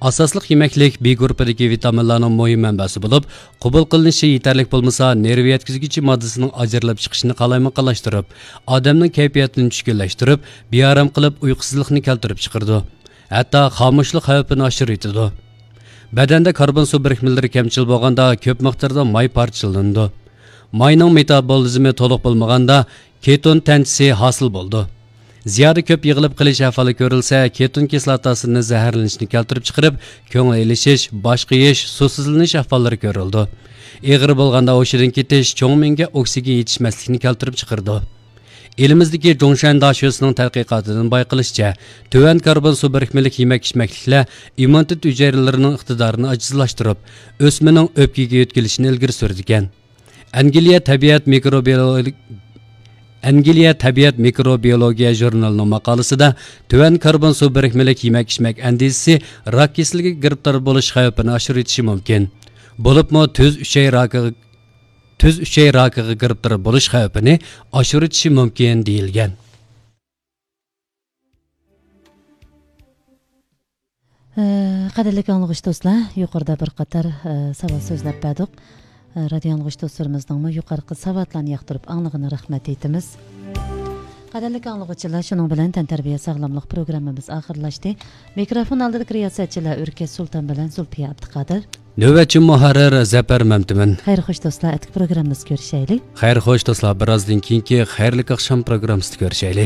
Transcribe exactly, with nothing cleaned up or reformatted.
ئاساسلىق يېمەكلىك بى گۇرۇپپىدىكى ۋىتامىنلارنىڭ مۇھىم مەنبەسى بولۇپ، قوبۇل قىلىنىشى يېتەرلىك بولمىسا، نېرۋا يەتكۈزگۈچى ماددىسىنىڭ ئاجرىلىپ چىقىشىنى قالايمىقانلاشتۇرۇپ، ئادەمنىڭ كەيپىياتىنى چۈشكۈنلەشتۈرۈپ، بىئارام قىلىپ، ئۇيقۇسىزلىقنى كەلتۈرۈپ چىقىرىدۇ. ھەتتا خامۇشلۇق خەۋپىنى ئاشۇرۇۋېتىدۇ. بەدەندە كاربون سۇ بىرىكمىلىرى كەمچىل بولغاندا، كۆپ مىقداردا ماي پارچىلىنىدۇ. ماينىڭ مېتابولىزمى تولۇق بولمىغاندا، كېتون تەنچىسى ھاسىل بولىدۇ. زىيادە كۆپ يىغىلىپ قېلىش ئەھۋالى كۆرۈلسە، كېتون كىسلاتاسىنى زەھەرلىنىشنى كەلتۈرۈپ چىقىرىپ، كۆڭۈل ئېلىشىش، باش قېيىش، سۇسىزلىنىش ئەھۋاللىرى كۆرۈلىدۇ. ئېغىر بولغاندا ھوشىدىن كېتىش، چوڭ مېڭىگە ئوكسىگېن يېتىشمەسلىكنى كەلتۈرۈپ چىقىرىدۇ. ئېلىمىزدىكى جۇڭشەن داشۆسىنىڭ تەتقىقاتىدىن بايقىلىشىچە، تۆۋەن كاربون سۇ بىرىكمىلىك يېمەك-ئىچمەكلىكلەر ئىممۇنىتېت ھۈجەيرىلىرىنىڭ ئىقتىدارىنى ئاجىزلاشتۇرۇپ، ئۆسمىنىڭ ئۆپكىگە يۆتكىلىشىنى ئىلگىرى سۈرىدىكەن. ئەنگلىيە تەبىئەت مىكروبىيولوگ-، ئەنگلىيە تەبىئەت مىكروبىيولوگىيە ژۇرنىلىنىڭ ماقالىسىدە، تۆۋەن كاربون سۇ بىرىكمىلىك يېمەك-ئىچمەك ئەندىزىسى راك كېسىلىگە گىرىپتار بولۇش خەۋپىنى ئاشۇرۇۋېتىشى مۇمكىن. بولۇپمۇ تۈز ئۈچەي راكىغا، تۈز ئۈچەي راكىغا گىرىپتار بولۇش خەۋپىنى ئاشۇرۇۋېتىشى مۇمكىن، دېيىلگەن. ئە، قەدىرلىك ئاڭلىغۇچى دوستلار، يۇقىرىدا بىر قاتار، ئە، ساۋات سۆزلەپ بەردۇق. ئە، رادىيو ئاڭلىغۇچى دوستلىرىمىزنىڭمۇ يۇقىرىقى ساۋاتلارنى ياقتۇرۇپ ئاڭلىغىنىغا رەھمەت ئېيتىمىز. قەدىرلىك ئاڭلىغۇچىلار، شۇنىڭ بىلەن تەنتەربىيە ساغلاملىق پروگراممىمىز ئاخىرلاشتى. مىكروفون ئالدىدىكى رىياسەتچىلەر ئۆركەش سۇلتان بىلەن زۇلپىيە ئابدۇقادىر. نۆۋەتچى مۇھەررىر زەپەر مەمتىمىن. خەير خوش دوستلار، ئەتىكى پروگراممىمىزدا كۆرۈشەيلى. خەير خوش دوستلار، بىرازدىن كېيىنكى خەيرلىك ئاخشام پروگراممىسىدا كۆرۈشەيلى.